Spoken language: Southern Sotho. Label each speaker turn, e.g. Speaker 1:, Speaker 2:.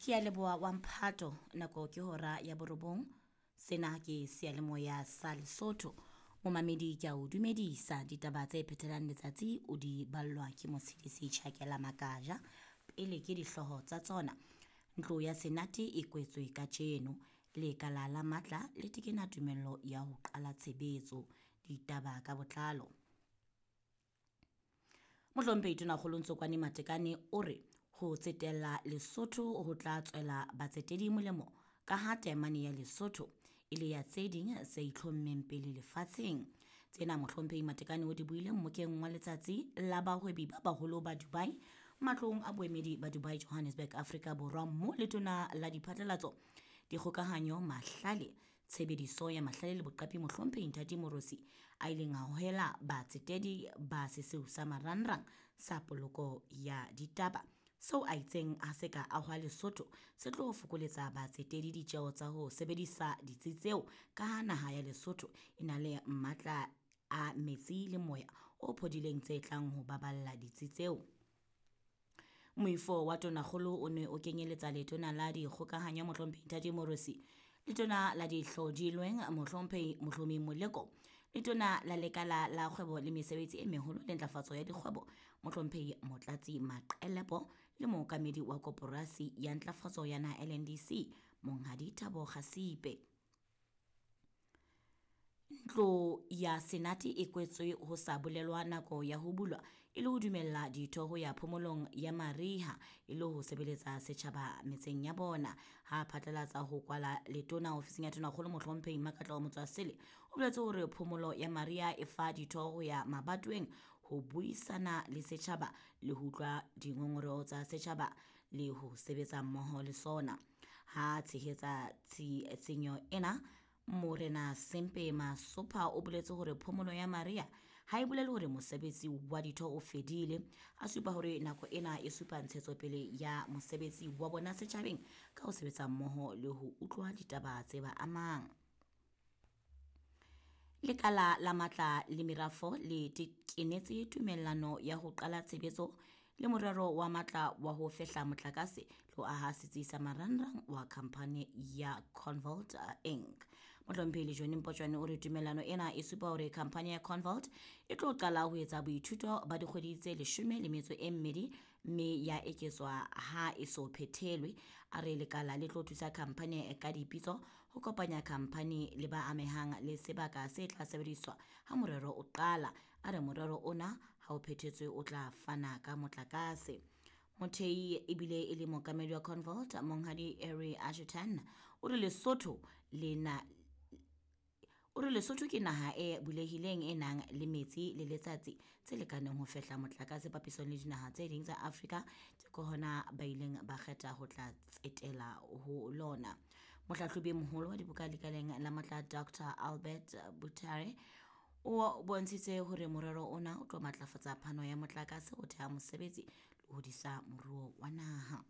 Speaker 1: Ke a leboha wa mphato, nako ke hora ya borobong. Sena ke seyalemoya sa Lesotho. Momamedi ke a o dumedisa ditaba tse phethelang letsatsi o di ballwa ke Motshidisi Tjhakela Makaja. Pele ke dihlooho tsa tsona. Ntlo ya Senate e kwetswe kajeno. Lekala la matla le tekena tumello ya ho qala tshebetso. Ditaba ka botlalo. Mohlomphehi Tonakgolo Ntsokoane Matekane o re ho tsetela Lesotho ho tla tswela batsetedi molemo ka ha taemane ya Lesotho e le ya tse ding tse itlhommeng pele lefatsheng. Tsena Mohlomphehi Matekane o di buile mmokeng wa letsatsi la bahwebi ba baholo ba Dubai matlong a boemedi ba Dubai Johannesburg Afrika Borwa mo letona la diphatlalatso dikgokahanyo mahlale tshebediso ya mahlale le boqapi Mohlomphehi Nthati Morosi a ileng a hohela batsetedi ba seseu sa marangrang sa poloko ya ditaba seo a itseng ha se ka ahwa Lesotho se tlo fokoletsa batsetedi ditjeo tsa ho sebedisa ditsi tseo ka ha naha ya Lesotho e na le matla a metsi le moya o phodileng tse tlang ho baballa ditsi tseo. Moifo wa tonakgolo o ne o kenyeletsa letona la dikgokahanyo Mohlomphehi Nthati Morosi, letona la dihlodilweng Mohlomphehi Mohlomi Moleko, letona la lekala la kgwebo le mesebetsi e meholo le ntlafatso ya dikgwebo Mohlomphehi Motlatsi Maqelepo le mookamedi wa koporasi ya ntlafatso ya naha LNDC Monghadi Thabo Kgasipe. Ntlo ya Senate e kwetswe ho sa bolelwa nako ya ho bulwa e le ho dumella ditho ho ya phomolong ya mariha e le ho sebeletsa setjhaba metseng ya bona. Ha phatlalatsa ho kwala letona ofising ya tonakgolo Mohlomphehi Makatla Motswasele o boletse hore phomolo ya mariha e fa ditho ho ya mabatoweng ho buisana le setjhaba le ho utlwa dingongoreho tsa setjhaba le ho sebetsa mmoho le sona. Ha tshehetsa tshenyo ena Morena Sempe Masopha o boletse hore phomolo ya mariha ha e bolele hore mosebetsi wa ditho o fedile. A supa hore nako ena e supa ntshetsopele ya mosebetsi wa bona setjhabeng ka ho sebetsa mmoho le ho utlwa ditaba tse ba amang. Lekala la matla le merafo le kenetse tumellano ya ho qala tshebetso le morero wa matla wa ho fehla motlakase le ho aha setsi sa marangrang wa khamphani ya Convault Inc. Mohlomphehi Lejone Mpotjwane o re tumellano ena e supa hore khamphani ya Convault e tlo qala ho etsa boithuto ba dikgwedi tse 12 mme ya eketswa ha e so phethelwe. A re lekala le tlo thusa khamphani ka dipitso ho kopanya khamphani le ba amehang le sebaka se tla sebediswa ha morero o qala. A re morero ona ha o phethetswe o tla fana ka motlakase. Mothei ebile e le mookamedi wa Convault Monghadi Harry Ashutan o re Lesotho le na o re Lesotho ke naha e bulehileng e nang le metsi le letsatsi tse lekaneng ho fehla motlakase papisong le dinaha tse ding tsa Afrika ke hona ba ileng ba kgetha ho tla tsetela ho lona. Mohlahlobi e moholo wa dibuka lekaleng la matla Dr Albert Butare o bontshitse hore morero ona o tlo matlafatsa phano ya motlakase ho theha mosebetsi le ho hodisa moruo wa naha.